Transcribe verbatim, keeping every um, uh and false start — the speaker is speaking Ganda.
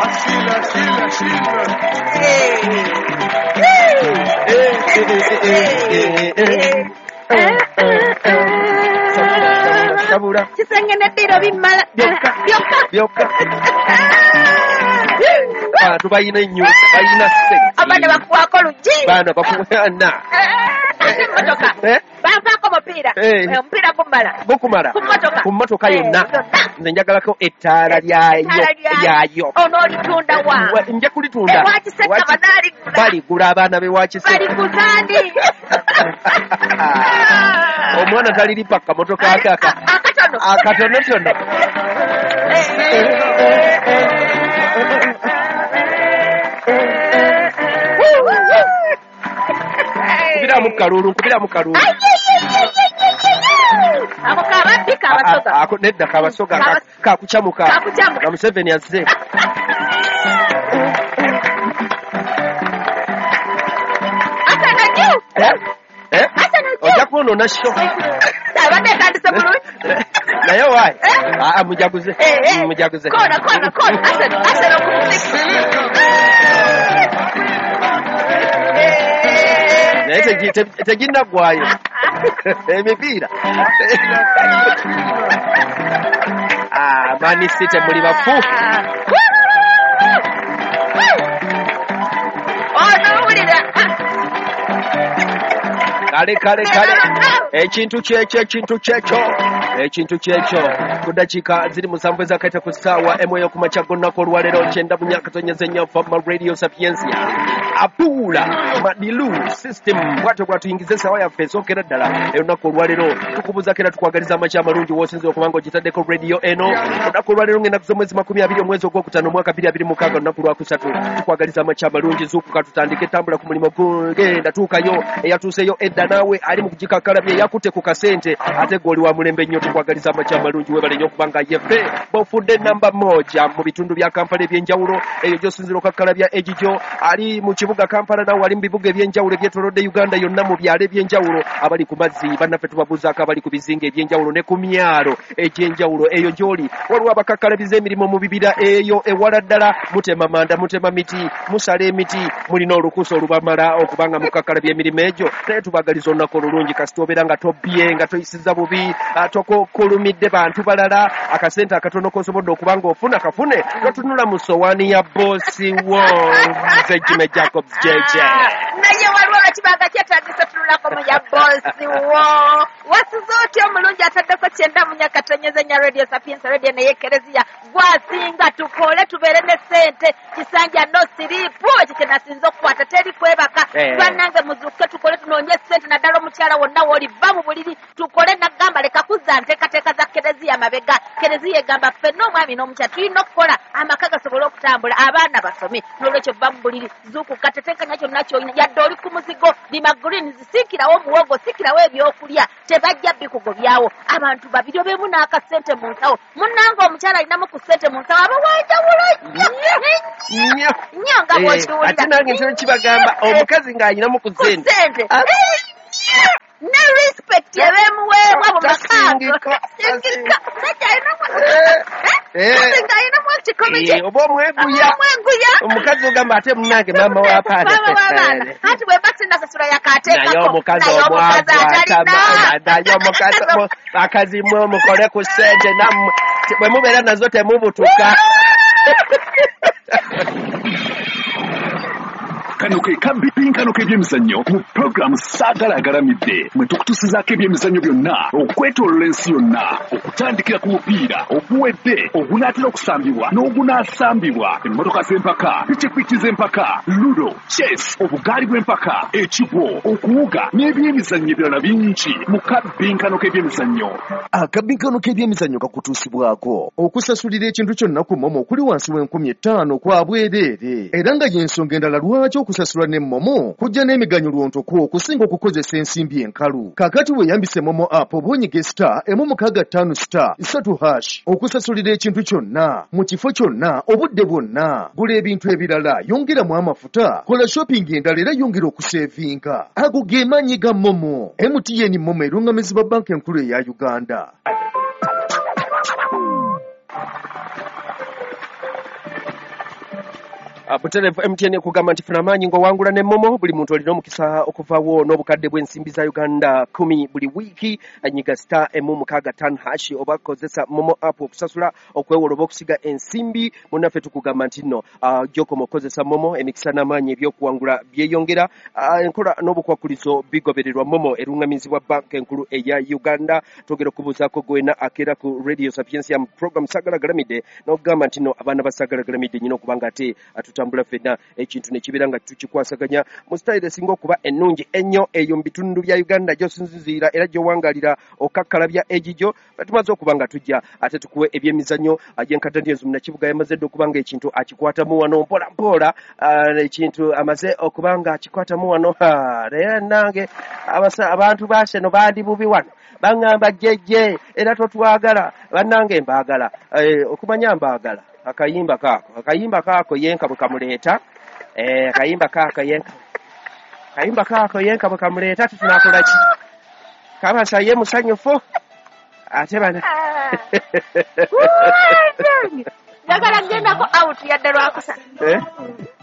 Ashila, Ashila, Ashila. Kisenge neddiro bimala byokka byokka byokka. Bantu balina ennyo, balina ssente. Abaana bakuwaako luggi. Baana bakuwana. Ate emmotoka Eh? banvaako mupiira. Eh. Eh, omupiira gumala Gukumala ku mmotoka. Ku mmotoka Eh, yonna. yonna. Nze njagalako ettaala lyayo. Ettaala lyayo. Lyayo. Onoolitunda wa? Wa- nja kulitunda. Ewa Kiseka Waki- banaaligula. Baligula abaana b'ewa Kiseka. Baliguzaani? Omwana taliripa kamotoka ake aka akatono. Akatonotono. Nkubiramu kalulu, nkubiramu kalulu. Ako kababbi kabasoga. A- a- ako nedda kabasoga. Kabas- Kakucamuka. Kakucamuka. Nga Museveni azze. Asana juu. Eh? Eh? Asana juu. Ojja kwonoona sho. Abadde etandise bulungi. Naye waayi. Eh? Aa, mujaguze. Eh, eh. Mujaguze. Koona, koona, koona. Asana, asana ku muziki. Naye tegi- te- teginnaggwayo emipiira. Ah, Man City muli bafu. Ono owulira. Kale kale kale, ekintu kyekyo, ekintu kyekyo, ekintu kyekyo. Ku dakiika ziri musanvu ezakaita ku ssaawa emu ey'okumakya g'olunaku olwaleero, kyenda mu myaka tonyeze nnyo Fama Radio Sapiensia Apuula Madilu System bwatyo bwatuyingiza essaawa yaffe esookera ddala olunaku olwaleero. Tukubuuzako era tukwagaliza amakya amalungi w'osinza okuba nga ogitaddeko radio eno olunaku olwaleero, ng'ennaku z'omwezi makumi abiri, omwezi ogwokutaano, omwaka bbiri abiri mukaaga, olunaku lwakusatu. Tukwagaliza amakya amalungi. Zuukuka, tutandike, tambula ku mulimu, genda, tuukayo. Eyatuuseyo edda naawe ali mu kugikakkalabya, eyakutte ku kasente, ate gwe oli wa mulembe nnyo. Tukwagaliza amakya amalungi. Webale nnyo okuba nga yeffe bofudde namba moja mu bitundu bya Kampala ebyenjawulo eyo gy'osinzira okakkalabya egigyo. Ali mu kibuga Kampala, nawe ali mu bibuga ebyenjawulo ebyetolodde Uganda yonna, mu byalo ebyenjawulo, abali ku mazzi bannaffe tubabuuzaako, abali ku bizinga ebyenjawulo ne ku myalo egyenjawulo eyo gy'oli. Waliwo abakakkalabiza emirimu mu bibira eyo ewala ddala, mutema manda, mutema miti, musala emiti, mulina olukusa olubamala okuba nga mukakkalabya emirimu egyo. Naye tubagaliza olunaku olulungi. Kasita obeera nga tobbye, nga toyisiza bubi, ah, tokokulumidde bantu balala, akasente akatono kosobodde okuba nga ofuna kafune, totunula mu sowaani ya boosi wo. Nze Jime Jacobs J J. Naye waliwo lwekibanga kyetagisa tunulako mu ya boosi wo. Wasuze otya omulungi ataddeko kyenda mu nyakatonyeza nya Radio Sapiens, radio naye kereziya gwasinga. Tukole tubeere ne ssente kisanja, no sleep. Ekyo kyenasinza okukwata, teri kwebaka. Eh. Bannange, muzuuke, tukole, tunoonye ssente, naddala omukyala wonna woli, va mu buliri tukole. Nagamba leka kuzza nteekateeka za kereziya mabega. Kereziya egamba ffenna omwami n'omukyala tulina okukola amaka gasobole okutambula, abaana basome. N'olwekyo va mu buliri, zuukuka, tetenkanya kyonna kyolina, yadde oli ku muzigo, lima greens, siikirawo omuwogo, siikirawo ebyokulya, tebajja bikugobyawo. Abantu babiri obeemu n'akasente mu nsawo. Munnange, omukyala alinamu ku ssente mu nsawo aba wanjawulo nnyo nnyo nnyo nga Eh, bw'okiwulira. Ate nange ntera kibagamba, omukazi ng'alinamu ku ku ssente ssente Ah. ne respect ebeemuweebwa mu makaago. Tasingika. Tasingika. Musajja alinamu Eh, eh. nga alinamu ekikumi kye. Eh, oba omweguya. Omweguya. Omukazi ogamba ate munange maama w'abaana. Maama w'abaana. Anti bwe mba sinnasasula yakaateekako. Naye omukazi Naye omwavu omukazi atalina. atama- naye omukazi mu- bakazi mwe mukole ku ssente nammwe, bwe mubeera nazo temubutuka. Kano ke kabbinkano k'ebyemizannyo mu pulogulaamu Saagala Agalamidde, mwe tukutusizaako ebyemizannyo byonna okwetoolola ensi yonna, okutandikira ku mupiira oguwedde, ogunaatera okusambibwa n'ogunaasambibwa, emmotoka z'empaka, pikipiki z'empaka, ludo, chess, obugaali bw'empaka, ekigwo, okuwuga n'ebyemizannyo ebirala bingi mu kabbinkano k'ebyemizannyo. Akabbinkano k'ebyemizannyo kakutuusibwako okusasulira ekintu kyonna ku MoMo okuli wansi w'enkumi ttaano kwa bwereere, era nga y'ensonga endala lwaki okusasula ne MoMo kujja n'emiganyulo ntoko okusinga okukozesa ensimbi enkalu. Kaakati weeyambise MoMo app oba onyige star emu mukaaga ttaano star ssatu hash okusasulira ekintu kyonna mu kifo kyonna, obudde bwonna. Gula ebintu ebirala, yongeramu amafuta, kola shopping endala era yongera okusevinga. Ago ge maanyi ga MoMo. M T N MoMo erungamizibwa Banka Enkulu eya Uganda. Butereevu M T N ekugamba nti funa amaanyi ng'owangula ne Momo. Buli muntu olina omukisa okuvaawo n'obukadde bw'ensimbi za Uganda kumi buli wiiki. Nyiga star emu mukaaga ttaano hash oba kozesa Momo app okusasula, okwewola oba okusiga ensimbi. Munnaffe tukugamba nti nno gy'okoma okukozesa Momo, emikisa n'amaanyi ebyokuwangula byeyongera. Enkola n'obukwakulizo bigobererwa. Momo eruŋŋamizibwa Banka Enkulu eya Uganda. Twogera okubuuzaako gwena akeera ku Radio Sapientia mu program Sagala Galamidde n'okugamba nti nno abaana ba Sagala Galamidde nyina okuba nga ate tutambula ffenna ekintu ne kibeera nga tukikwasaganya mu sitayiro esinga okuba ennungi ennyo eyo mu bitundu bya Uganda gy'osinziira era gy'owangalira okakkalabya egigyo. Tumaze okuba nga tujja ate tukuwe ebyemizannyo. Jenkata Daniels Munnakibuga yamaze dda okuba nga ekintu akikwatamu wano mpola mpola, ekintu amaze okuba nga akikwatamu wano. Naye nange abantu ba Arsenal bandi bubi wano, baŋŋamba jjejje era totwagala. Bannange mbaagala, okumanya mbaagala. Akayimba kaako, akayimba kaako yenka bwe kamuleeta, akayimba kaako yenka, akayimba kaako yenka bwe kamuleeta tutunakola ki? Kabasa ye musanyufu ate bana njagala kugendako out yadde lwakusatu.